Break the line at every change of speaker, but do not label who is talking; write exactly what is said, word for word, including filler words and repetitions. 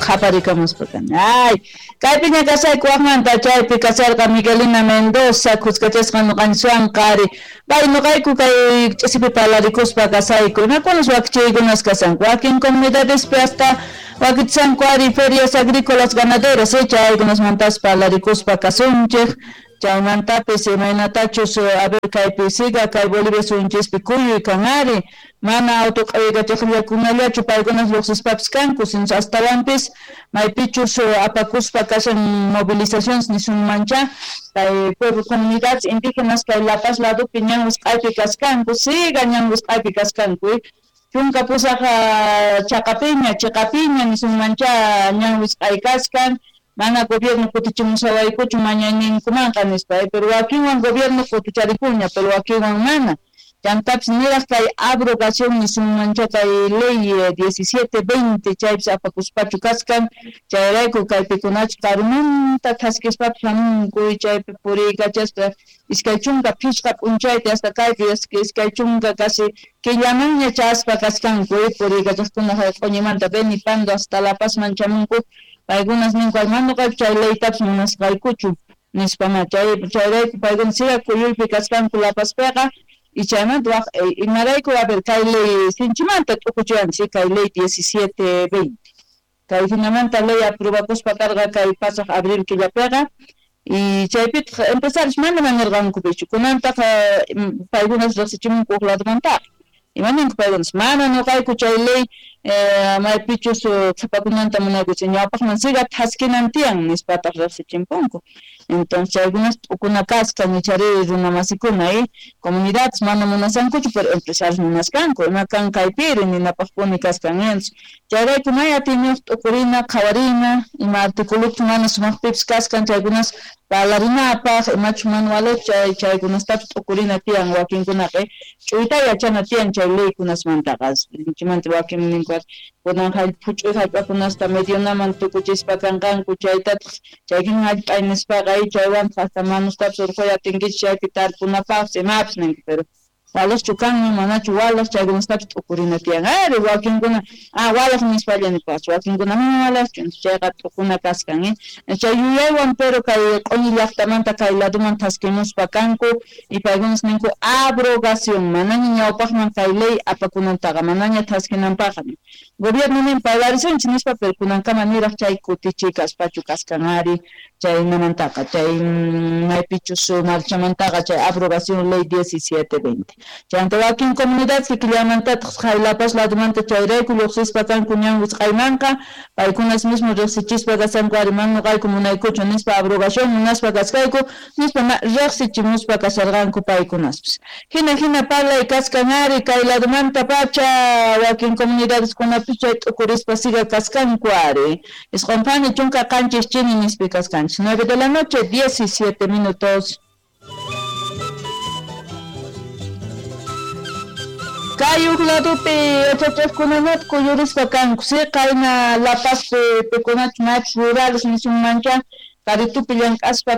Qhaparikamuspa kani. Ay, kaypiña kasayku wajmanta chaypi kasarqa Miguelina Mendoza khuskachasqa ñuqanchikwan qari. Pay ñuqayku kay ch'isipi parlarikuspa kasayku. Imakunas wakichiykunas kasanku. Wakin comunidadespi hasta wakichisanku ari ferias agrícolas ganaderas, eh, chaykunasmantas parlarikuspa kasunchik. Chaymantapis imaynatachus a ver kaypi siga kay Bolivia suyunchispi kuyuy kan ari mana auto q'awiykachaqllakunallachu paykunas lluqsispapis kanku sino astawanpis maypichus apakuspa kashan movilizaciones nisunmancha kay pueblo comunidades indígenas kay La Paz ladopi ñan wisq'aypi kaskanku siga ñan wisq'aypi kaskanku chunka pusaq chaqapiña chiqapiña nisunmancha ñan wisq'ay kaskan mana gobierno kutichimusawaykuchu mañayninkumanqa nispa, pero wakinwan gobierno kuticharikuña, pero wakinwan mana. Chantapis niraq kay abrogación nisunmancha kay ley diecisiete veinte chaypis apakuspachu kaskan, chayrayku kaypikunachu karumanta thaskispapis hamunku chaypi puriykachaspa iskay chunka phishqa p'unchayta hasta kaypi iskay chunka casi killamanña chaspa kaskanku puriykachaqkuna q'uñimanta Beni Pando hasta La Pazman chamunku. Paykunas ninku mana ñuqayku chay leytapis munasqaykuchu nispa ma chay chayrayku paykuna siga kuyuypi kaskanku La Pazpiqa y chaymanta waq imarayku a ver kay ley sinchimanta t'ukuchiwanchik kay ley diecisiete veinte kay hinamanta ley aprobakuspa karqa kay pasaq abril killapiqa y chaypitaq empresarios mana mañarqankupichu kunantaq paykunas riqsichimunku huk ladomantaqa imaninku paykunas mana ñuqayku chay ley maypichus qhipakunanta munaykuchik ñawpaqman siga thaskinan tiyan nispataq riqsichimpunku. Entonces chaykunas t'ukuna kaskan ichari runamasikuna eh comunidades mana munasankuchu pero empresarios munaskanku ima kan kaypiri ninapaqpuni kaskan entonces chayrayku may atiyniyuq t'ukurina qhawarina ima articuluchus mana sumaqpipis kaskan chaykunas parlarinapaq imachus manuales chay chaykunastapis t'ukurina tiyan wakinkunaqa ch'uyta yachana tiyan chay leykunasmantaqa sinchimanta wakin ninku kunan phuch'uy hallp'akunasta medionaman tukuchispa kanqanku chaytataq chaykin hallp'ay nispaqa chaywantaq hasta manustapis urquy atinkichik chaypi tarpunapaqpis imapis ninku pero walaqchu kanman manachu walaq chaykunastapis t'ukurina tiyan ari wakinkuna ah walaq nispalla nipaqchu wakinkuna mana walaqchu chayqa t'ukuna kaskan eh chay yuyaywan pero kay q'uñi llaqtamanta kay ladoman thaskimuspa kanku y paykunas ninku abrogación manaña ñawpaqman kay ley apakunantaqa manaña thaskinanpaqqa gobierno nin parlarisunchik nispa pero kunankama niraq chay kutichiy kaspachu kaskan ari chaynamantaqa chay maypichus marchamantaqa chay abrogación ley diecisiete veinte chaymanta wakin comunidades killamantataq kay La Paz ladomanta chayrayku lluqsispa kanku ñan wisq'aymanqa paykunas mismo riqsichispa kasanku ari mana ñuqayku munaykuchu nispa abrogación munaspa kasqayku nispa riqsichimuspa kasarqanku paykunaspis hina hina parlay kaskan ari kay ladomanta pacha wakin comunidadeskunapis chay t'ukurispa siga kaskanku ari isqun phani chunka qanchis chini nispi kaskanchik nueve de la noche diecisiete minutos. Kay huk ladopi yachachaqkunanata kuyurispa kanku si qayna La Pazpi pikunachu maypis rurales nisunmancha karitupi llank'aspa